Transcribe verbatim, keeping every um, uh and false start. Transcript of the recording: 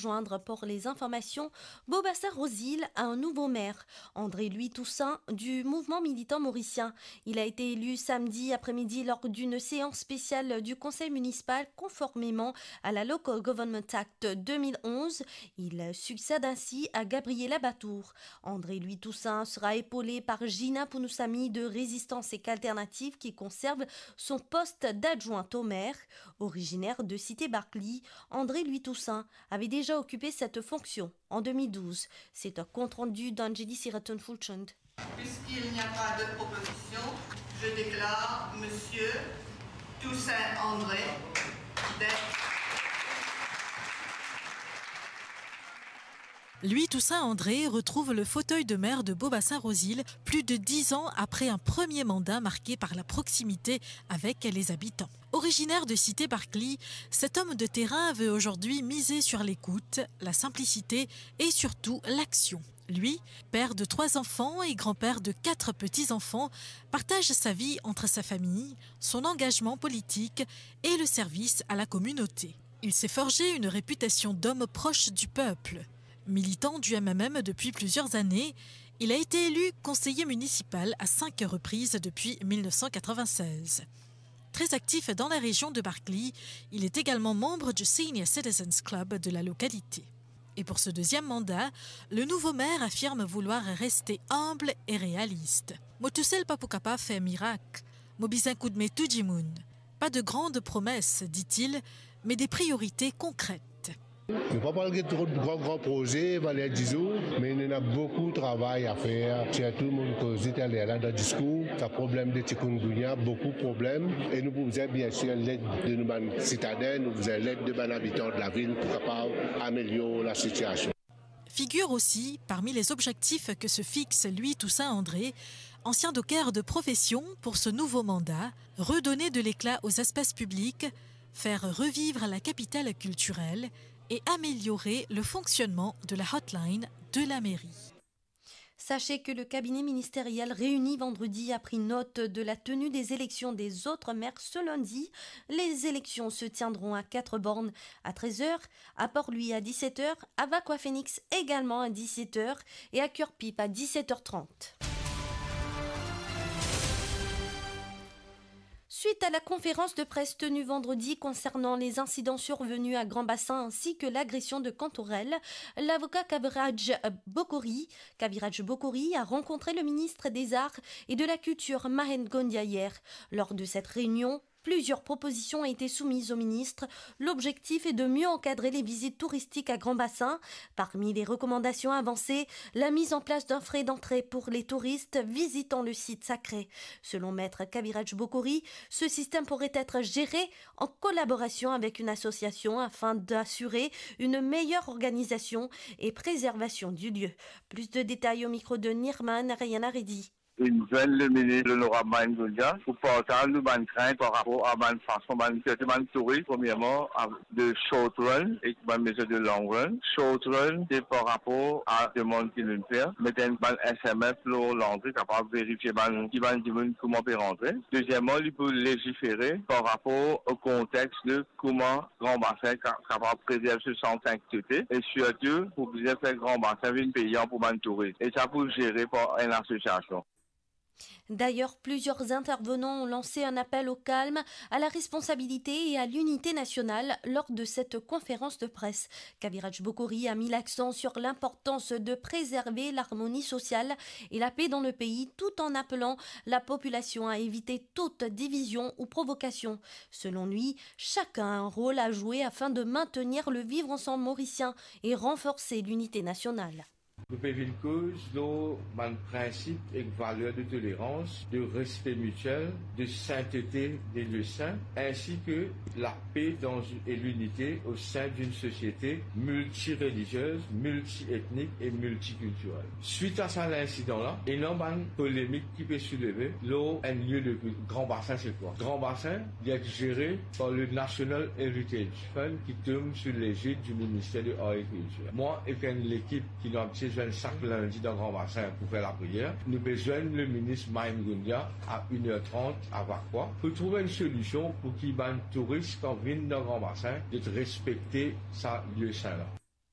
Joindre pour les informations, Beau-Bassin Rosil a un nouveau maire, André Louis Toussaint du Mouvement Militant Mauricien. Il a été élu samedi après-midi lors d'une séance spéciale du Conseil municipal conformément à la Local Government Act deux mille onze. Il succède ainsi à Gabriela Batour. André Louis Toussaint sera épaulé par Gina Pounoussamy de Résistance et Alternative qui conserve son poste d'adjointe au maire. Originaire de Cité Barclay, André Louis Toussaint avait déjà occupé cette fonction en deux mille douze. C'est un compte-rendu d'Anjali Siraton Fulchand. Puisqu'il n'y a pas de proposition, je déclare Monsieur Toussaint André d'être Louis Toussaint André retrouve le fauteuil de maire de Beau-Bassin Rosil plus de dix ans après un premier mandat marqué par la proximité avec les habitants. Originaire de Cité Barclay, cet homme de terrain veut aujourd'hui miser sur l'écoute, la simplicité et surtout l'action. Lui, père de trois enfants et grand-père de quatre petits-enfants, partage sa vie entre sa famille, son engagement politique et le service à la communauté. Il s'est forgé une réputation d'homme proche du peuple. Militant du M M M depuis plusieurs années, il a été élu conseiller municipal à cinq reprises depuis mille neuf cent quatre-vingt-seize. Très actif dans la région de Barclay, il est également membre du Senior Citizens Club de la localité. Et pour ce deuxième mandat, le nouveau maire affirme vouloir rester humble et réaliste. Mo tousel pa pou kapav fer mirak. Mo bizin koudme tou dimoun. Pas de grandes promesses, dit-il, mais des priorités concrètes. Nou pa pral get tro gran, gran proze, valer dizour, me nou ena boukou travay a fer, sirtou mo koze taler la dan diskour, sa problem de chikungunya, boukou problem, e nou pou bizin, bien sir, led de nou bann sitaden, nou bizin led de bann abitan de lavil pou kapav amelior lasitiasion. Figure aussi parmi les objectifs que se fixe Louis Toussaint André, ancien docker de profession, pour ce nouveau mandat, redonner de l'éclat aux espaces publics, faire revivre la capitale culturelle et améliorer le fonctionnement de la hotline de la mairie. Sachez que le cabinet ministériel réuni vendredi a pris note de la tenue des élections des autres maires ce lundi. Les élections se tiendront à quatre bornes, à treize heures, à Port-Louis à dix-sept heures, à Vacoas Phoenix également à dix-sept heures et à Curepipe à dix-sept heures trente. Suite à la conférence de presse tenue vendredi concernant les incidents survenus à Grand Bassin ainsi que l'agression de Cantorel, l'avocat Kaviraj Bokouri, Kaviraj Bokouri a rencontré le ministre des Arts et de la Culture, Mahendra Gondia, hier. Lors de cette réunion, plusieurs propositions ont été soumises au ministre. L'objectif est de mieux encadrer les visites touristiques à Grand Bassin. Parmi les recommandations avancées, la mise en place d'un frais d'entrée pour les touristes visitant le site sacré. Selon Maître Kaviraj Bokouri, ce système pourrait être géré en collaboration avec une association afin d'assurer une meilleure organisation et préservation du lieu. Plus de détails au micro de Nirman Ariana Reddy. Inn zwenn le minis, Lonorab Mahendra Gondia, pou partaz nou bann krint par rapor a bann fason bann, sirtou bann touris, premierman, a, de short run ek bann mezir de long run. Short run, se par rapor a demann ki nou'nn fer, met enn bann S M S lor landre, kapav verifie bann, ki bann dimoun kouma pe rantre. Dezieman, li pou legifere par rapor o kontex de kouma Grand Bassin ka-, kapav prezerv so sant sankte e sirtou pou bizin fer Grand Bassin vinn peyan pou bann touris. E sa pou zere par enn asosiasion. D'ailleurs, plusieurs intervenants ont lancé un appel au calme, à la responsabilité et à l'unité nationale lors de cette conférence de presse. Kaviraj Bokouri a mis l'accent sur l'importance de préserver l'harmonie sociale et la paix dans le pays, tout en appelant la population à éviter toute division ou provocation. Selon lui, chacun a un rôle à jouer afin de maintenir le vivre ensemble mauricien et renforcer l'unité nationale. Nou pe vinn koz lor bann prinsip ek valer de tolerans, de respe mitiel, de sintete de lie sin, ainsi que la paix dans, et l'unité au sein d'une société multireligieuse, multiethnique et multiculturelle. Suite à sa, l'incident-là, ena bann polemik ki pe souleve lor enn lie de kilt. Grand Bassin, c'est quoi? Grand Bassin, li est géré par le National Heritage Fund ki tom sou légide du ministère de l'Agriculture. Mwa ek enn lekip ki nou abitie zwenn sak lindi dan Grand Bassin pou fer lapriyer, nou pe zwenn le minis Mahendra Gondia a une heure trente a Vacoas pou trouv enn solision pou ki bann touris kan vinn dan Grand Bassin, zot respekte sa lie sin la.